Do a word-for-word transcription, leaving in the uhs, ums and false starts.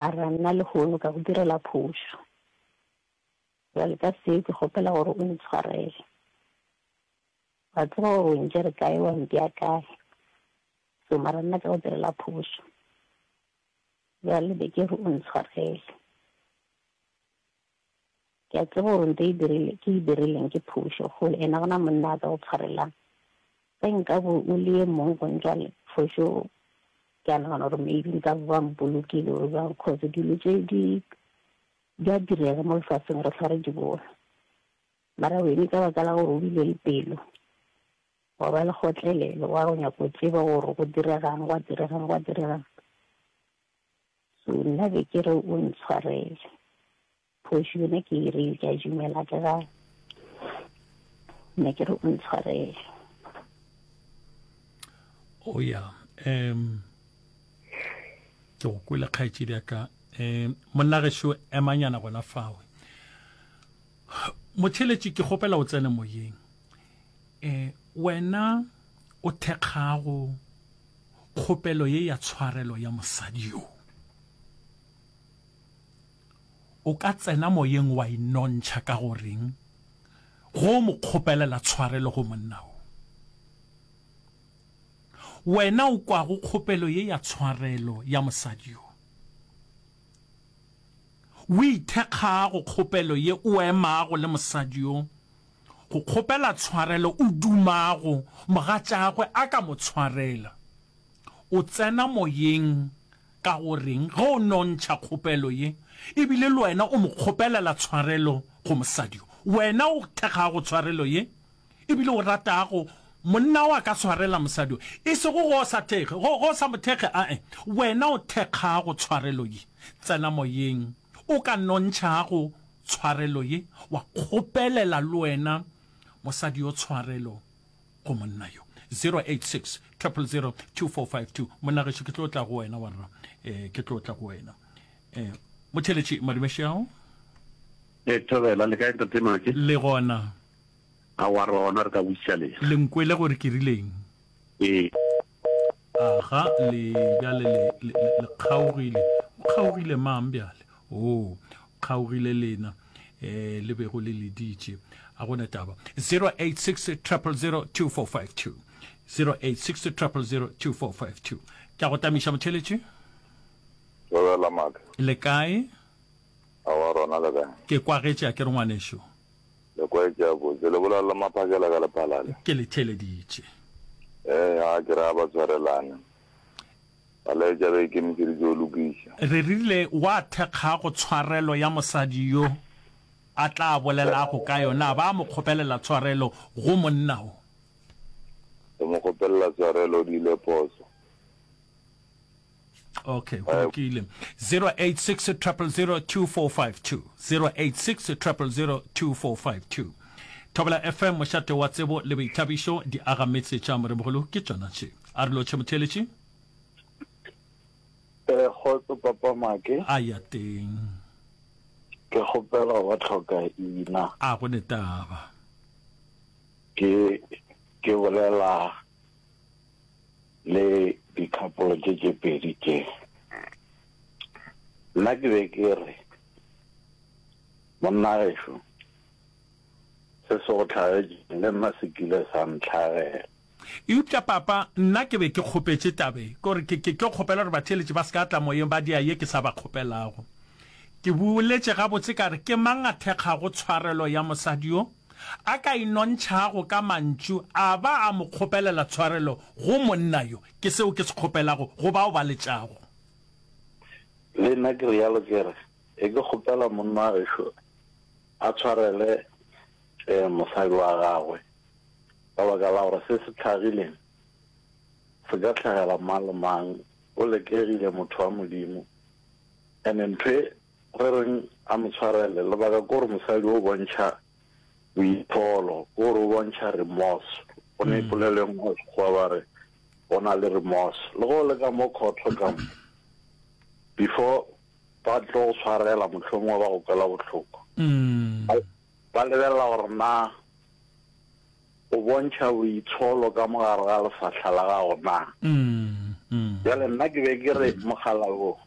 Mara nna lehono ka go direla phošo. Bjale ka seo ke kgopela gore o ntshwarele. Wa tseba gore o ntšere kae wa mpea kae. So mara nna ka go direla phošo. Bjale be ke re o ntshwarele. Ke a tseba gore nto e dirile ke e dirileng ke phošo kgolo ene gona monna a ka go tshwarelang. Ge nka bo o le ye mong go ntšwa for sure ke a nagana gore maybe nka bo ba mpolokile or bjang cause dilo tše di di a direga mo lefaseng re hlwa re di bona. Mara wene ka baka la gore o bile le pelo wa ba le kgotlelelo wa go nyaka go tseba gore go diregang gwa diregang gwa diregang. So nna be ke re o ntshwarele. Phošo yona ke e rile ke a dumela ke ga ne ke re o ntshwarele. O ya um ke go kwele kgaetšedi ya ka um monna gešo emanyana gona fawe motheletši ke kgopela o tsene moyeng um wena o thekgago kgopelo ye ya tshwarelo ya mosadi yo o ka tsena moyeng wa inontšha ka goreng go mo kgopelela tshwarelo go monna wo wena o kwago kgopelo ye ya tshwarelo ya mosadi yo o ithekgago kgopelo ye o emago le mosadi yo go kgopela tshwarelo o dumago mogatšagwe a ka mo tshwarela o tsena moyeng ka goreng ge o nontšha kgopelo ye ebile le wena o mo kgopelela tshwarelo go mosadi yo wena o thekgago tshwarelo ye ebile o ratago monna wa ka tshwarela mosadi yo e sego go sa thekge go go sa mo thekge ae wena o thekgago tshwarelo ye tsena moyeng o ka nontšhago tshwarelo ye wa kgopelela le wena mosadi yo tshwarelo go monna yo zero eight six triple zero two four five two monna gešo ke tlo tla go wena warra eh ke tlo tla go wena eh motheletši madumešao e thobela le kae ntate Make le gona a wa rona re ka buša lena le nkwele gore ke rileng ee aga le bjale le le le kgaogile o kgaogile mang bjale o kgaogile lena eh le bego le leditše a gona taba zero eight six triple zero two four five two zero eight six triple zero two four five two ke a go tamiša motheletši Thobela Make le kae a wa rona le kae ke kwagetše a ke re ngwanešo le kwaetše a botse le bolela le maphakela ka lephalale ke le theleditše ee ga ke re a ba tshwarelane ba laetša ba ikemišeditše go lokiša re rile wa thekgago tshwarelo ya mosadi yo a tla bolelago ka yona ba mo kgopelela tshwarelo go monna o re mo kgopelela tshwarelo di ile phoso okay go lokile zero eight six triple zero two four five two zero eight six triple zero two four five two Thobela F M mošate wa tsebo le boithabišo di aga metse tša moremogolo ke tšona tše a re lotšhe motheletši Eh, kgotso papa Make a ya teng ke kgopela wa tlhoka ina a go ne taba ke ke bolela le di-couple tše tše pedi tše nna ke be ke re monna gešo se se go tlhagetšeng le nna se kile sa ntlhagela eupša papa nna ke be ke kgopetše tabe kore ke ke tlo kgopela gore batheeletši ba se ka tla moyeng ba dia ye ke sa ba kgopelago ke boletše gabotse ka re ke mang a thekgago tshwarelo ya mosadi yo a ka inontšhago ka mantšu a ba a mo kgopelela tshwarelo go monna yo ke seo ke se kgopelago go bao ba letšago le nna ke rialo ke re e ke kgopela monna gešo a tshwarele eh, mosadi wa gagwe ka baka la gore se se tlhagileng se ka tlhagela mang le mang o lekegile motho wa modimo and ntho e re reng a mo tshwarele lebaka ke gore mosadi o bontšha boitsholo ke gore o bontšha remorse go ne polelo e nngwe ya sekgowa ba re go na le remorse le go le ka mo khotho ka mo before ba tlo go tshwarela mohlomongwe ba go kwela bohloko mm. ba lebelela gore na o bontšha boitsholo ka mogare ga lefahla la gago na Mm. Mm. bjale nna ke be ke re mogala wo